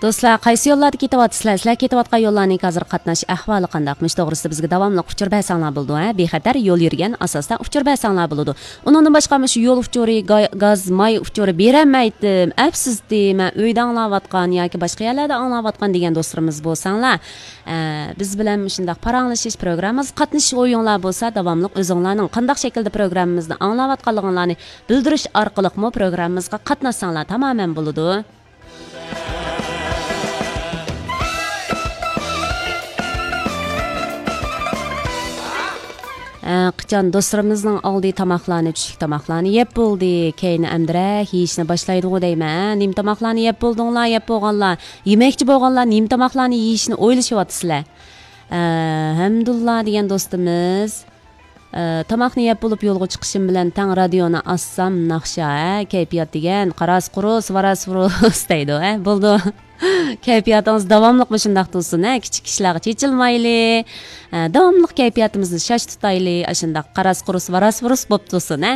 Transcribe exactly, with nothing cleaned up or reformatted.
دوستلار، قايسى يوللاردا كېتىۋاتىسىلەر؟ سىلەر كېتىۋاتقان يوللارنىڭ ھازىر قاتناش ئەھۋالى قانداق؟ مۇشۇ توغرىسىدا بىزگە داۋاملىق ئۇچۇر بەرسەڭلار بولىدۇ، ھە؟ بىخەتەر يول يۈرگەن ئاساستا ئۇچۇر بەرسەڭلار بولىدۇ. ئۇنىڭدىن باشقا، مۇشۇ يول ئۇچۇرى، گا-، گاز، ماي ئۇچۇرى بېرەلمەيتتىم، ئەپسىزتى، مەن ئۆيدە ئاڭلاۋاتقان ياكى باشقا يەرلەردە ئاڭلاۋاتقان دېگەن دوستلىرىمىز بولساڭلار، ئە، بىز بىلەن مۇشۇنداق پاراڭلىشىش پروگراممىمىزغا قاتنىشىش ئويۇڭلار بولسا، داۋاملىق ئۆزۈڭلارنىڭ قانداق شەكىلدە پروگراممىمىزنى ئاڭلاۋاتقانلىقىڭلارنى بىلدۈرۈش ئارقىلىقمۇ پروگراممىمىزغا قاتناشساڭلار تامامەن بولىدۇ. ئە، قاچان دوستلىرىمىزنىڭ ئالدى تاماقلارنى، چۈشلۈك تاماقلارنى يەپ بولدى، كەينى ئەمدىرەك يېيىشنى باشلايدىغۇ دەيمەن. نېمە تاماقلارنى يەپ بولدۇڭلار، يەپ بولغانلار، يېمەكچى بولغانلار نېمە تاماقلارنى يېيىشنى ئويلىشىۋاتىسىلەر؟ ئە، ھەمدۇللا دېگەن دوستىمىز، ئە، تاماقنى يەپ بولۇپ يولغا چىقىشىم بىلەن تەڭ رادىيونى ئاچسام ناخشا، ھە، كەيپىيات دېگەن، قاراس قۇرۇس، ۋاراس ۋۇرۇس دەيدۇ، ھە، بولدى. كەيپىياتىڭىز داۋاملىق مۇشۇنداق تۇرسۇن، ھە، كىچىك ئىشلارغا چېچىلمايلى، ھە، داۋاملىق كەيپىياتىمىزنى شاش تۇتايلى، ئاشۇنداق قاراس قۇرۇس، ۋاراس ۋۇرۇس بولۇپ تۇرسۇن، ھە.